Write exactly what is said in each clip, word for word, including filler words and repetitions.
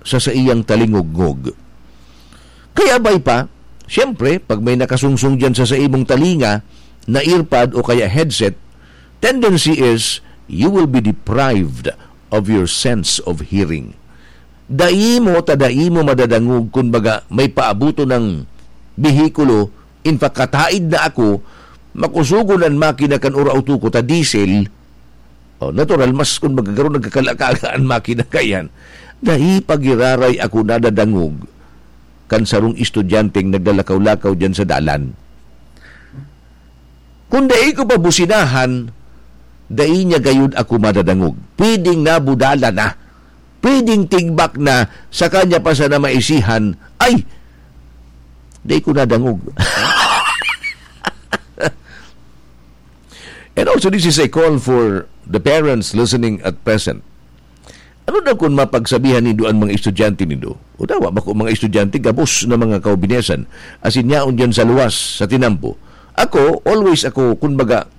sa saiyang talingugngog. Kaya bay pa, siyempre, pag may nakasungsong diyan sa saimong talinga na earpod o kaya headset, tendency is you will be deprived of your sense of hearing. Dai mo ta dai mo madadangog kun baga may paabuto ng behikulo, in fact, kataid na ako, makusugon an makina kan ura-uto ko ta diesel. Oh, natural, mas kun magagaro nagkakalakaga an makina kayan, dai pagiraray ako nadadangog kan sarong estudyanteng naglalakaw-lakaw diyan sa dalan. Kun dai ko pa businahan, dai niya gayud ako madadangog. Pwedeng nabudala na. Pwedeng tigbak na, sa kanya pa sana maisihan, "Ay, dai ko nadangog." And also, this is a call for the parents listening at present. Ano daw kun mapagsabihan nindo an mga estudyante nindo? O dawa, bako mga estudyante, gabos na mga kaubinesan, asin yaon diyan sa luwas, sa tinampo. Ako, always ako, kun baga,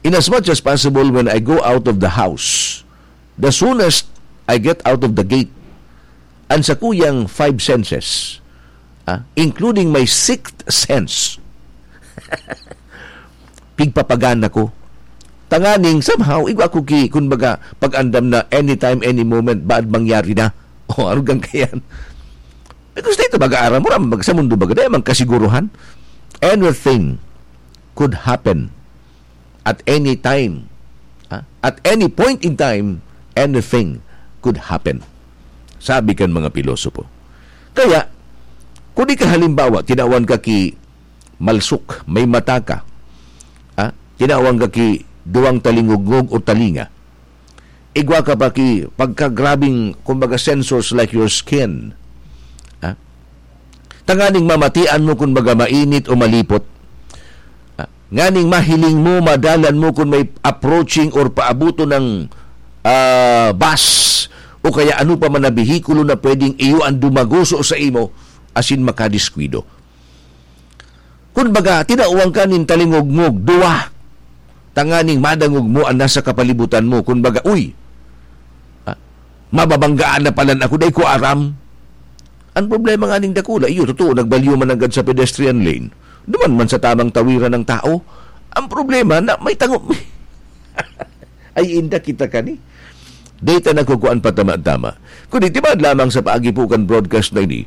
in as much as possible when I go out of the house, the soonest I get out of the gate, an sakuyang five senses, ah, including my sixth sense, pigpapagan ako. Tanganing somehow, igwa ko ki, kun baga, pag-andam na anytime, any moment, baad mangyari na. O, ano gang kayan? Because dito baga aram mo, ram, sa mundo baga, dahil mang kasiguruhan. Anything could happen at any time. Ha? At any point in time, anything could happen. Sabi kan mga pilosopo. Kaya, kung di ka halimbawa, tinawan ka ki malsok, may mata ka, ha? Tinawan ka ki duwang talingugngog o talinga, igwa ka pa ki pagkagrabing, kumbaga, sensors like your skin. Ha? Tanganing mamatian mo, kumbaga, mainit o malipot. Ha? Nganing mahiling mo, madalan mo kung may approaching or paabuto ng, ah, bus o kaya ano pa man na behikulo na pwedeng iyo ang dumaguso sa imo, asin makadiskwido. Kun baga, tinawan ka nin talingugngog, duwa, tanganing madangog mo an nasa kapalibutan mo. Kun baga, "Uy, ah, mababanggaan na palan ako, dai ko aram." Ang problema nga ning dakula, iyo, totoo, nagbalyo man nanggad sa pedestrian lane. Duman man sa tamang tawiran ng tao. Ang problema na may tango-, ay, inda kita kani. Data na kukuan pa tama-tama. Kundi tibad lamang sa paagi po kan broadcast na ini,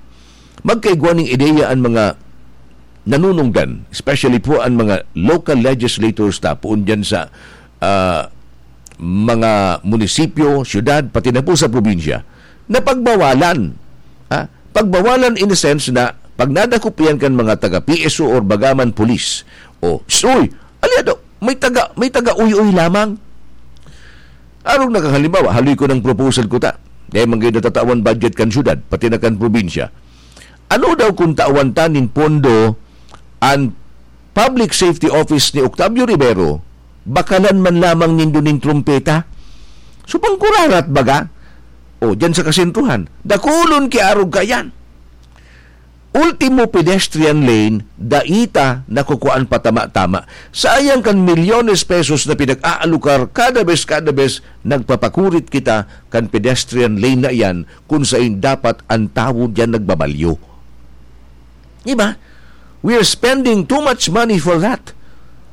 magkaigwa ning ideya ang mga nanunungdan, especially po ang mga local legislators ta poon dyan sa, ah, mga munisipyo, syudad, pati na po sa probinsya, na pagbawalan. Ha? Pagbawalan in a sense na pag nadakop yan kan mga taga P S O or bagaman pulis, o, "Uy, aliado, may taga, may taga-uy-uy lamang." Arog na kang halimbawa, haloy ko ng proposal ko ta. Dahil man kayo natatawan budget kan syudad, pati na kan probinsya. Ano daw kung tawan ta nin pondo an Public Safety Office ni Octavio Rivero, bakalan man lamang nindo nin trumpeta? So, pangkurarat baga? O, dyan sa kasentruhan, dakulon ki arog kayan. Ultimo pedestrian lane, dai ta nakukuan pa tama-tama. Sayang kan milyones pesos na pinag-aalokar kada bes, kada bes nagpapakurit kita kan pedestrian lane na iyan kung sain dapat ang tawo diyan nagbabalyo. Di ba? We are spending too much money for that.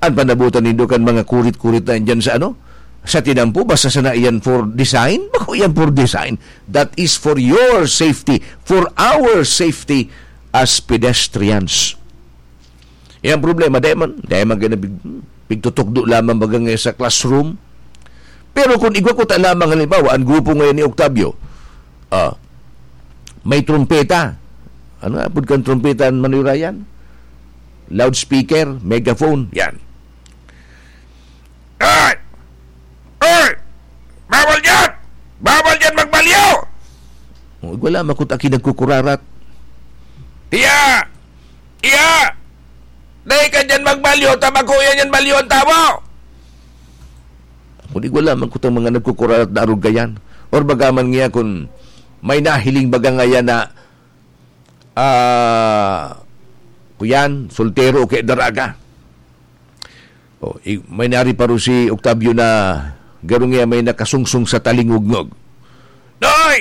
Ang panabutan nindo kan mga kurit-kurit na yan dyan sa ano? Sa tinampo, basta sana iyan for design? Bako iyan for design. That is for your safety, for our safety as pedestrians. Yan problema, dahil man, dahil man ganun, pig-, pigtutukdo lamang baga ngayon sa classroom. Pero kung igwa ko ta lamang, halimbawa, ang grupo ngayon ni Octavio, ah, may trumpeta. Ano nga, apod kan trumpeta, Manoy Ryan? Loudspeaker, megaphone, yan. Ay! Ay! Bawal yan! Bawal yan magbalyo! Oh, wala makot aki nagkukurarat. Iya! Iya! Dai ka dyan magbalyo, ta bako yan yan balyo ang tawo! Kung di wala makot ang mga nagkukurarat na arugayan. Or bagaman niya kung may nahiling baga ngayon na, ah, kuyan, soltero o kaya daraga. Oh, i-, may nari pa ro si Octavio na garo niya may nakasungsong sa talingugngog. Noy!